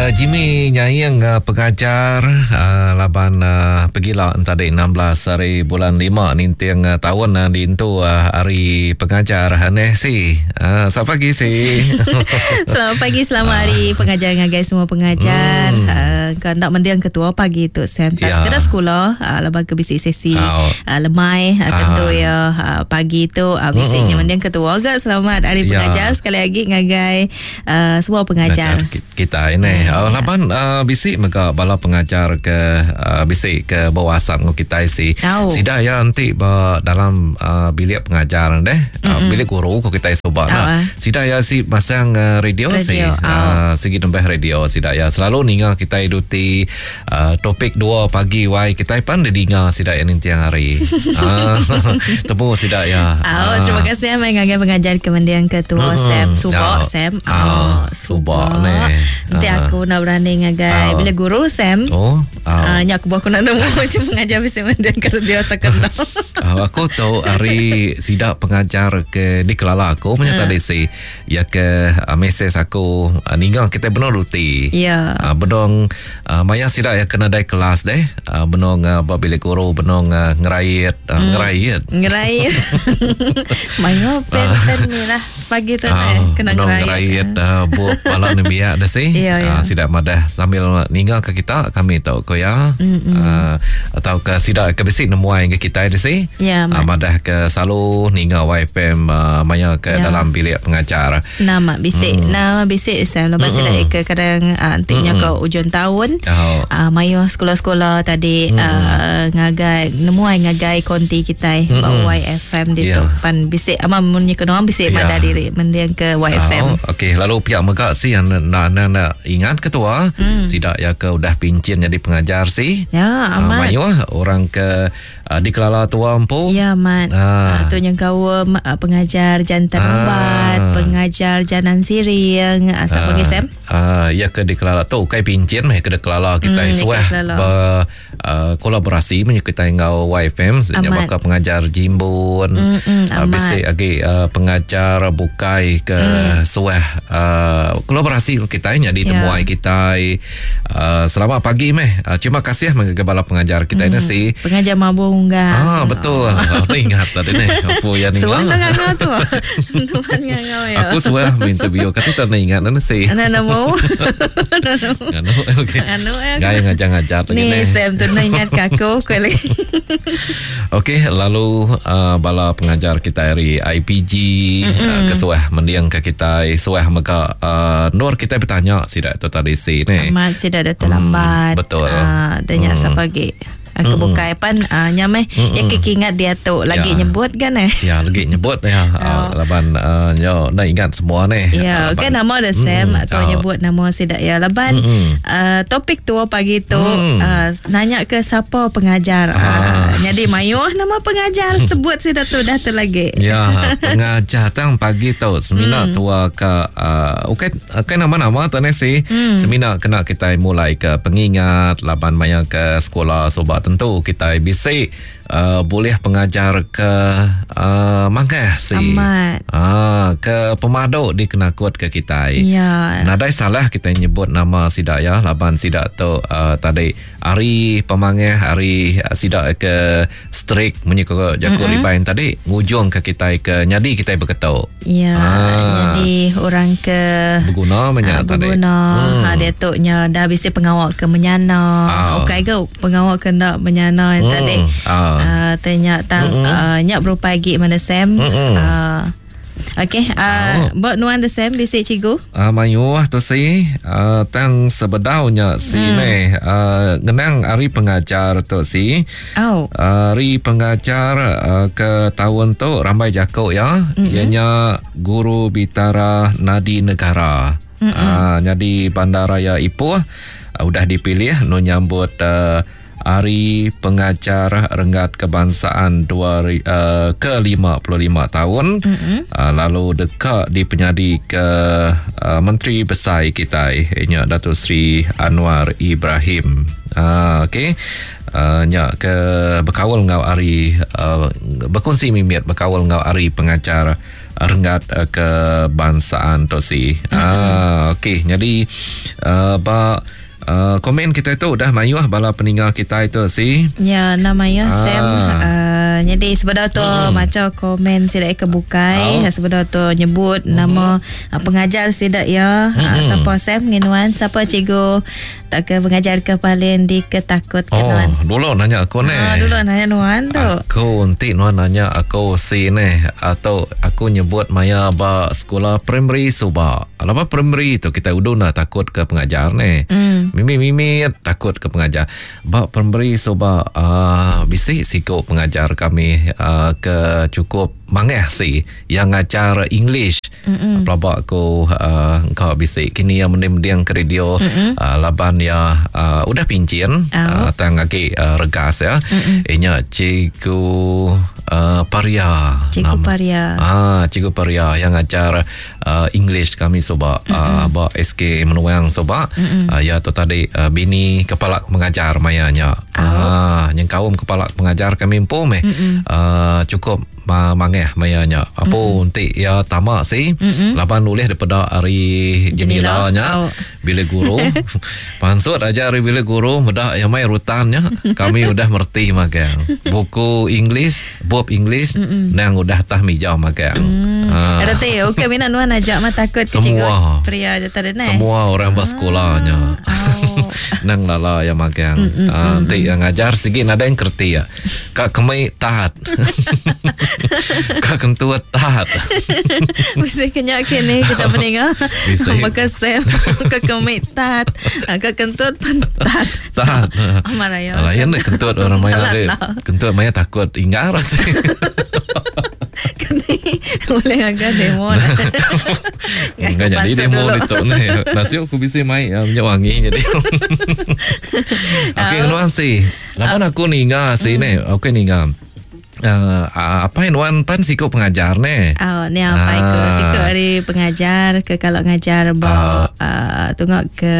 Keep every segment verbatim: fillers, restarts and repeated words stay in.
Uh, Jimmy nyaing uh, pengajar uh, laban uh, pegila tadi enam belas hari bulan lima ninting uh, tahun uh, dintu uh, hari pengajar aneh si. Uh, selamat pagi si. Selamat pagi, selamat hari pengajar ngagai semua pengajar. Hmm. Uh, kau nak mendiang ketua pagi tu Sam. Tak ya. Sekadar sekolah uh, laban ke bisi sesi oh. uh, lemai uh, tentu uh. ya uh, pagi tu uh, bisinya hmm. mendiang ketua agak. Selamat hari ya. Pengajar sekali lagi ngagai uh, semua pengajar. Pengajar kita ini. Hmm. Uh, laban uh, bisi mega bala pengajar ke uh, bisi ke bawasap ngau kita si. Oh. Sida ya nanti ba dalam uh, bilik pengajar deh. Uh, bilik guru ko kita soba oh. Nah. Sida ya si masang uh, radio, radio si. Oh. Uh, segi nembah radio sida ya selalu ninga kita duti uh, topik dua pagi wai kita pan dinga sida ya nintiang hari. Uh, temu sida ya. Oh, uh. Terima kasih mai ngagai pengajar kemendiang ketua hmm. Sam Subak oh. Sam. Oh, Subak ni. Nanti aku nak berani ngagai oh. Bila guru Sam. Oh. Oh. Uh, nyak aku aku nak nemu macam pengajar bisa mendiang ke dia tak kenal. Uh, aku tahu hari sidak pengajar ke di Kelala aku punya uh. tadi si ya ke uh, mesej aku uh, ninggal kita benar ruti. Ya. Yeah. Uh, benong uh, maya sidak ya kena dai kelas deh. Uh, benong uh, bilik guru benong uh, ngerait uh, mm. ngerait. Ngerait. Maya pen-pen ni lah pagi tu uh, kena ngerait. Ngerait uh, buat pala nembiak dah si. Ya, ya. Uh, sidak madah sambil ninggal ke kita kami tahu ko ya. Uh, atau ke sidak ke bisi nemuai ke kita dah si. Ya, uh, madah ke selalu ninggal Y F M uh, maya ke ya. Dalam bilik pengajar. Nama bisik, mm. nama bisik saya lepas mm. ke kadang uh, antinya ke ujung tahun. Oh. Uh, maya sekolah-sekolah tadi mm. uh, ngagai nemuai ngagai konti kita mm. Y F M di yeah. pan bisik ama mun kena bisik yeah. madah diri mendiang ke Y F M. Oh, okey, lalu pihak megak si yang nak nak, nak ingat ketua mm. sidak ya ke udah pincin jadi pengajar si. Ya, amat. Uh, mayu orang ke uh, di Kelala Tua empu. Ya, amat. Ah. Uh, tu yang kau uh, pengajar jantan ah. ubat, pengajar janan siring, uh, siapa lagi Sam? Ah, ya ke di Kelala tu kai pincin meh ke di Kelala kita mm, suah ber uh, kolaborasi menye kita ngau Y F M nya bakal pengajar Jimbun. Mm, mm, uh, bisik lagi uh, pengajar bukai ke mm. suah uh, kolaborasi kita nya di yeah. temuai kita. Uh, selamat pagi meh. Uh, terima kasih mengagai bala pengajar kita mm. ini si. Pengajar mabung enggak. Ah betul. Aku ingat tadi ni. Apa yang ni? Suah ngangau tu. Tuan ngangau ya. Aku suah interview kata tak nak ingat nana si. Nana nemu. Nganu okey. Nganu gaya ngajar-ngajar lagi ni. Sam tu nak ingat ke aku kau lagi. Okey, lalu uh, bala pengajar kita hari I P G uh, kesuah mendiang ke kita suah mega uh, nur kita bertanya sidak tu tadi si ni. Amat sidak dah terlambat. Hmm, betul. Uh, tanya hmm. siapa lagi. Aku Mm-mm. bukai pan uh, nyameh Mm-mm. ya kekingat dia tu lagi ya. nyebut kan eh. Ya lagi nyebut ya. Oh. Uh, laban uh, nyo nak ingat semua ni. Ya, uh, kan nama dah Sam mm, atau oh. nyebut nama sidak ya. Laban uh, topik tu pagi tu mm. uh, nanya ke siapa pengajar. Ah. Uh, jadi mayuh nama pengajar sebut sidak tu dah tu lagi. Ya, pengajar tang pagi tu semina mm. tua ke uh, okey okay, nama-nama tu ni si mm. semina kena kita mulai ke pengingat laban maya ke sekolah sobat tentu kita bisik uh, boleh pengajar ke uh, mangkah si. Amat. Ah, ke pemaduk dikenakut ke kita. Ya. Nadai salah kita nyebut nama sidak ya laban sidak tu uh, tadi hari pemangah hari uh, sidak ke strik menyekok jago mm-hmm. ribain tadi ngujung ke kita ke nyadi kita berketuk. Ya, ah. Jadi orang ke berguna banyak uh, tadi. Berguna. Hmm. Ha, dia tu nya dah bisa pengawak ke menyana. Ah. Okey ke pengawak ke nak menyana hmm. tadi. Ah. Uh, tanya tang mm-hmm. uh, nyak berupa lagi mana Sam. Mm-hmm. Uh, Okey, uh, oh. buat nuan the Sam bisik cikgu. Ah uh, mayuh tu si uh, tang sebedaunya si hmm. ni uh, ngenang hari pengajar tu si. Oh. Hari pengajar uh, ke tahun tu ramai jakuk ya. Mm-hmm. Ianya Guru Bitara Nadi Negara. Mm-hmm. Uh, jadi Bandaraya Ipoh uh, udah dipilih nu nyambut uh, Hari Pengajar Renggat Kebangsaan dua, uh, ke lima puluh lima tahun. Mm-hmm. Uh, lalu dekat dipenyadi ke uh, Menteri Besar kita ianya Datuk Seri Anwar Ibrahim. Uh, okey. Uh, nya ke berkawal ngau hari uh, berkongsi mimit berkawal ngau hari pengajar renggat uh, kebangsaan tu si. Mm-hmm. Ah, okey, jadi uh, ba Uh, komen kita tu udah mayuh bala peninggal kita itu si. Ya, nama ya ah. Sam. Uh, jadi sebenar tu hmm. macam komen sidak ke bukai, oh. Sebenar tu nyebut hmm. nama uh, pengajar sidak ya. Hmm. Uh, siapa Sam nginuan, siapa cikgu tak ke pengajar ke paling diketakut ke oh, nuan. Dulu nanya aku ni. Oh, dulu nanya nuan tu. Aku nanti nuan nanya aku si ni atau aku nyebut maya ba sekolah primary suba. Lama primary tu kita udah nak takut ke pengajar ni. Hmm. Mimi-mimi takut ke pengajar. Bak primary soba uh, bisi siko pengajar kami uh, ke cukup mangeh si yang ngajar English. Pelabak aku uh, kau bisi kini yang mending-mending ke radio uh, laban ya uh, udah pincin oh. uh, tang lagi uh, regas ya. Inya cikgu uh, Paria. Cikgu Nama. Paria. Ah, cikgu Paria yang ngajar uh, English kami soba uh, bak S K Menuang soba. Uh, ya tu tadi uh, bini kepala pengajar mayanya. Oh. Ah, yang kaum kepala pengajar kami empu meh. Uh, cukup ma- mangeh mayanya. Apa nanti ya tamak si laban nulis daripada hari jenilanya oh. Bilik guru. Pansut aja hari bilik guru mudah yang mai rutannya kami udah merti magang. Buku English, bab English Mm-mm. nang udah tah mijau magang. Mm. Ah. Ada sih, okey mina nuan ajak mah takut ke cikgu pria je tadi ne. Semua orang bersekolahnya. Oh. Nang lala yang magang. Ah, nanti yang ngajar segi nada yang kerti ya. Kak kemai taat. Kak kentut taat. Mesti kenyak kini kita mendengar. Maka sem ke kemai taat, ke kentut pun taat. Taat. Amarah ya. Lain kentut orang maya kentut maya takut ingar. Kini boleh agak demo. Enggak jadi demo itu ni. Nasib aku bisa mai minyak wangi jadi. Okey nuan si. Lapan aku ninga si ni. Okey ninga. Uh, apa yang nuan pan sikap pengajar ni? Oh, ni apa aku sikap dari pengajar ke kalau ngajar ba uh, uh, tengok ke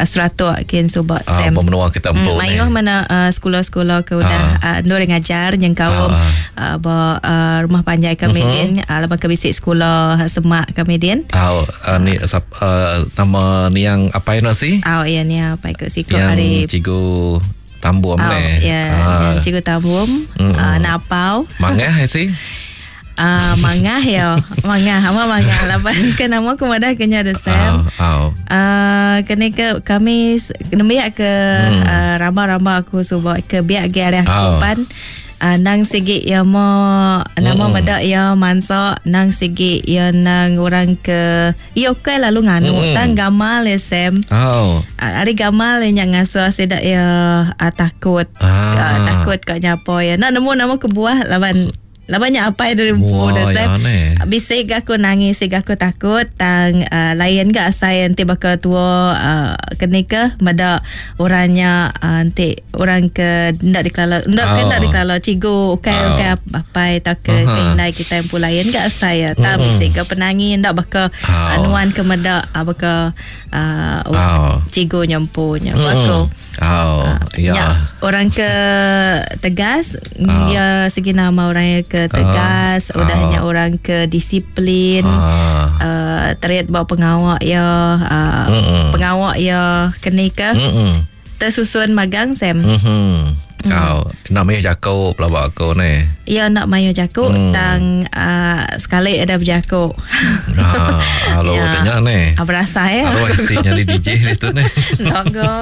Seratuk kin subak uh, sem. Menua kita empu mm, ni. Mayuh mana uh, sekolah-sekolah ke udah uh, uh, nur ngajar yang kaum uh, uh, ba uh, rumah panjai kami uh-huh. din, uh, lepas ke bisik sekolah semak kami din. Oh, uh, ni uh, nama ni yang apa yang nasi? Oh, ya ni apa aku sikap yang dari cikgu Tambum oh, ni. Ya, ah. cikgu Tambum, mm. uh, Napau. Mangah sih? Ah, uh, mangah ya. Mangah, ama mangah. Lapan ke nama aku madah kena ada Sam. Oh, oh. Uh, kena ke kami nembiak ke mm. uh, ramba-ramba aku subak ke biak ge arah oh. kupan. Uh, nang segi ya mo nama mm. medak ya mansa nang segi ya nang orang ke ya okey lalu nganu mm. tang gamal ya Sam. Oh. Uh, ari gamal yang ngaso sedak ya uh, takut. Ah. Uh, takut kat nyapo ya. Nak nemu nama kebuah laban labannya apa itu Wah, dah Sam. Ya, Bisik aku nangis, sik aku takut tang uh, lain gak saya nanti bakal tua uh, kena ke mada orangnya uh, nanti orang ke ndak dikelala ndak Oh. ke ndak dikelala cikgu okey Oh. okey apa tak ke Aha. uh-huh. indai kita yang pun lain gak saya tang Mm-mm. bisik ke penangi ndak bakal Oh. anuan ke meda uh, bakal uh, Oh. cikgu nyempunya Mm-mm. aku. Oh, ya. Ya, orang ke tegas, Ah. ya segi nama orang yang ke tegas, Ah. udahnya orang ke disiplin, Ah. uh, terit bawa pengawak ya, uh, Mm-mm. pengawak ya kena ke Mm-mm. tersusun magang Sam. Mhm. Oh, namanya Jakob lah buat aku ni. Ya nak mayo jakuk Hmm. tang uh, sekali ada berjakuk. Ah, halo Ya. tanya ni. Ah, berasa ya. Halo I C jadi D J itu ni. Logo.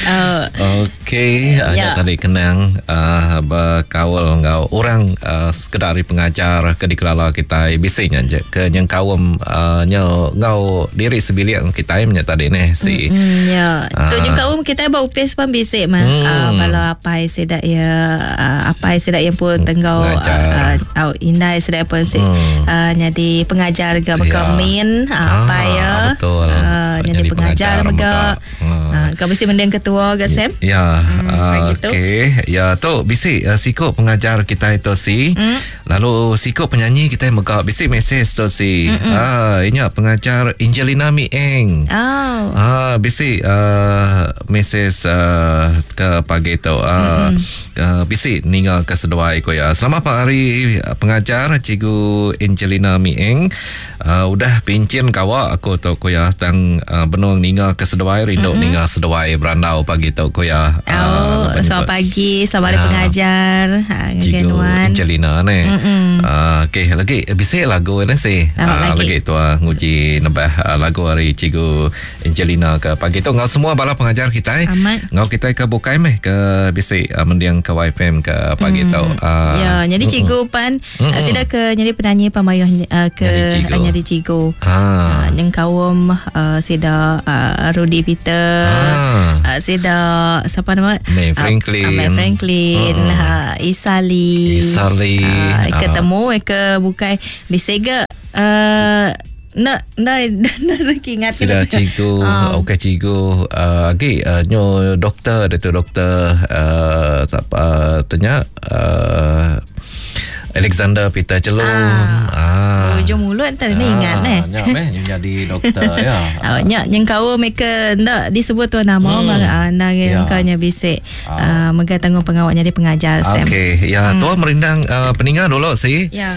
uh, Okey, Ya. ya. Tadi kenang uh, berkaul ngau orang uh, sekedar pengajar ke dikelala kita bisingnya je ke yang kaum uh, nyo ngau diri sebilik kita punya tadi ni si. Mm, ya. Ah. Tu juga um kita bawa upis pun bisik mah. Hmm. Uh, kalau apa sedak ya uh, apa sedak yang pun tenggau Pengajar. uh, uh, indai sedak pun si Hmm. uh, jadi pengajar ke Ya. berkemin uh, apa Ah, ya. betul. Uh, jadi Jadi pengajar pengajar mega. mega. Hmm. Uh, kau mesti mending ketua ke Sam? Ya, hmm. Pagi tu. Okey, ya tu bisi uh, siku pengajar kita itu si. Mm. Lalu siku penyanyi kita mega bisi mesej tu si. Ah, inya pengajar Angelina Mieng. Oh. Ah, bisi uh, mesej uh, ke pagi tu. Ah, uh, bisi ninga ke seduai ko ya. Selamat pagi pengajar Cikgu Angelina Mieng. Uh, udah pincin kawa aku tu ko ya tang uh, benung ninga ke seduai rindu mm-hmm. ninga seduai berandau pagi tu ko ya. Oh, uh, selamat pagi, selamat hari pengajar. Ha, Cikgu Angelina ni. Uh, okey, lagi bisi lagu ni si. Uh, lagi, lagi tua nguji nebah uh, lagu hari Cikgu Angelina ke pagi tu ngau semua bala pengajar kita. Ngau kita ke bukai meh ke bisi uh, mendiang ke Y F M ke pagi mm. tu. Uh, ya, jadi cikgu pan mm-hmm. sida ke jadi penyanyi pamayuh uh, ke jadi cikgu. Ah. Uh, yang kaum uh, sida uh, Rudy Peter. Ah. Uh, sida siapa nama? May Franklin. Uh, May Franklin, uh. uh, Isali. Isali. Uh, ketemu ke bukai bisi ke uh, nak nak nak ingat sida cikgu um. Okey cikgu uh, lagi uh, nyo doktor dia tu doktor uh, siapa tanya uh, Alexander Peter Chelum. Ah. ah. Ujung mulut tadi ni ingat eh. Nyak meh jadi doktor ya. Ah, nyak yang kau mereka ndak disebut tu nama hmm. ah nang ya. Kau nya bisik ah uh, megai tanggung pengawaknya di pengajar Sam. Okey, ya hmm. Tua merindang uh, peninggal dulu si. Ya.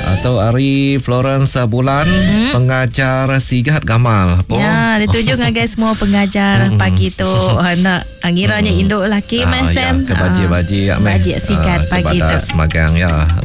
Atau Ari Florence Bulan hmm? pengajar Sigat Gamal. Oh. Ya, dituju ngagai semua pengajar hmm. pagi tu. Nak ngiranya hmm. induk laki ah, Sam. Ya, ke baji-baji ya meh. Baji Sigat pagi tu. Semagang ya.